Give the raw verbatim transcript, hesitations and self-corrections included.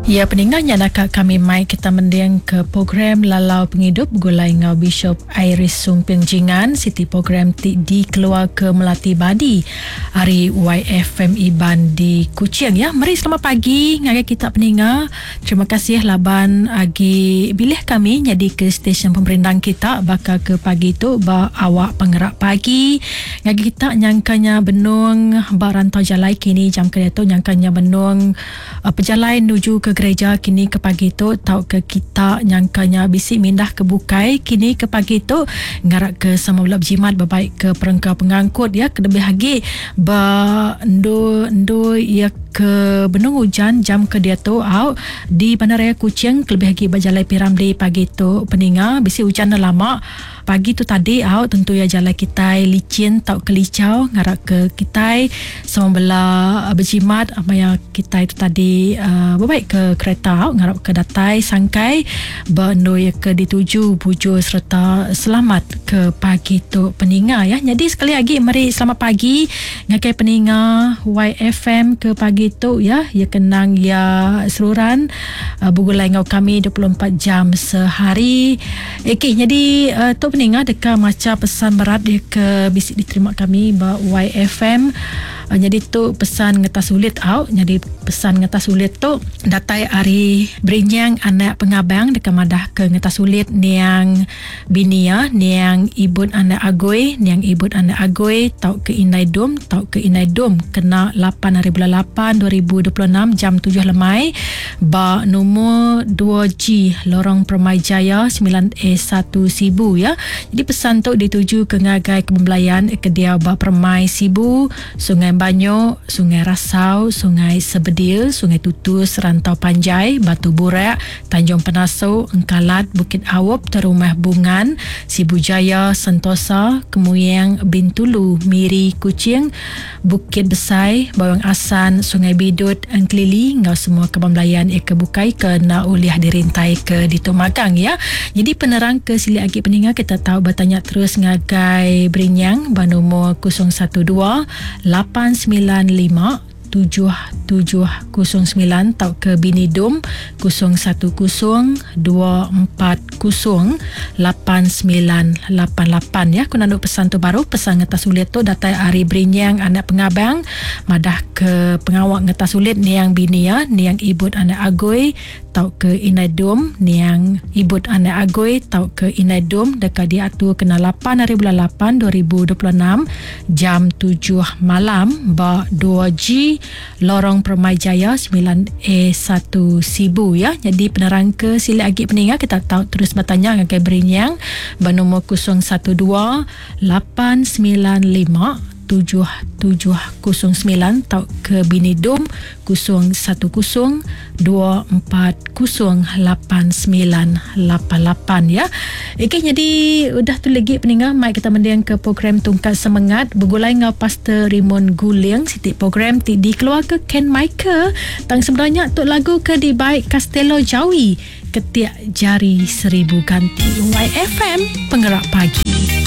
Ya peninga nya naka kami mai kita mending ke program Lalau Pengidup Begulai enggau Bishop Iris Sumping Jingan, siti program ti dikeluar ke Melati Badi ari Y F M Iban di Kuching ya. Meri selamat pagi ngagai kita peninga. Terima kasih laban agi bilih kami jadi ke stesen pemerindang kita bakal ke pagi tu ba awak pengerak pagi. Ngagai kita nyangkanya benung ba rantau jalai kini jam ke tu nyangkanya benung uh, pejalai menuju ke gereja kini ke pagi tu tau ke kita nyangkanya bisi mindah ke bukai kini ke pagi tu ngarak ke sama belap jimat berbaik ke perengka pengangkut ya kelebih lagi ba ndu ndu ya ke benung hujan jam ke dia tu au di Bandaraya Kuching kelebih lagi ba jalai Piramli pagi tu peninga bisi hujan dah lama pagi tu tadi au tentu ya jalai kitai licin tau kelicau ngarak ke kitai sama bela berjimat maya kitai tu tadi uh, berbaik ke kereta au ngarap ke datai sangkai bendui ke dituju bujur serta selamat ke pagi tu peninga ya. Jadi sekali lagi meri selamat pagi ngagai peninga Y F M ke pagi tu ya. Ya kenang ya seluran uh, bergulai ngau kami dua puluh empat jam sehari. Okey, jadi uh, tu peninga deka maca pesan berat dia ke bisi diterima kami ba Y F M. Uh, jadi tu pesan ngetas sulit au. Jadi pesan ngetas sulit tu datai ari Berinyang anak pengabang deka madah ke ngetas sulit niang binia niang ibut anak agoi niang ibut anak agoi tau ke indai dum tau ke indai dum kena lapan hari bulan lapan dua ribu dua puluh enam jam tujuh lemai ba nombor dua G Lorong Permai Jaya sembilan A satu Sibu ya. Jadi pesan tu dituju ke ngagai kebelayan ke dia ba Permai Sibu, Sungai Banyo, Sungai Rasau, Sungai Sebedil, Sungai Tutus, Rantau Panjai, Batu Burak, Tanjung Penaso, Engkalat, Bukit Awop, Terumah Bungan, Sibu Jaya, Sentosa, Kemuyang, Bintulu, Miri, Kuching, Bukit Besai, Bawang Asan, Sungai Bidut, Engkelili, ngau semua kebang belayan eka bukai ke nak uliah dirintai ke Ditumagang ya. Jadi penerang ke silik agi peninga kita tahu bertanya terus ngagai Berinyang bernomor kosong satu dua lapan sembilan lima tujuh tujuh kosong sembilan atau ke Bini Dum kosong satu kosong dua empat kosong lapan sembilan lapan lapan ya. Aku nak pesan tu baru pesan ngetas sulit tu datai ari Berinyang anak pengabang madah ke pengawak ngetas sulit niang bini ya niang ibut anak agoi tau ke Inai Dum niang ibut anak agoi tau ke Inai Dum dekat diatur kena lapan hari bulan lapan dua ribu dua puluh enam jam tujuh malam ba dua G Lorong Permai Jaya sembilan A satu Sibu ya. Jadi penerang ke sila agi peninga kita tahu terus bertanya ngagai Berinyang bernombor kosong satu dua lapan sembilan lima tujuh tujuh kosong sembilan atau ke Bini Dum kosong satu kosong dua empat kosong lapan sembilan lapan lapan ya. Okey, jadi udah tu lagi peninga mai kita mendiang ke program Tungkat Semangat bergulai ngau Pastor Raymond Guling siti program ti dikeluar ke Ken Michael tang sebenarnya tu lagu ke di baik Castello Jawi Ketiak Jari Seribu Ganti. Y F M Penggerak Pagi.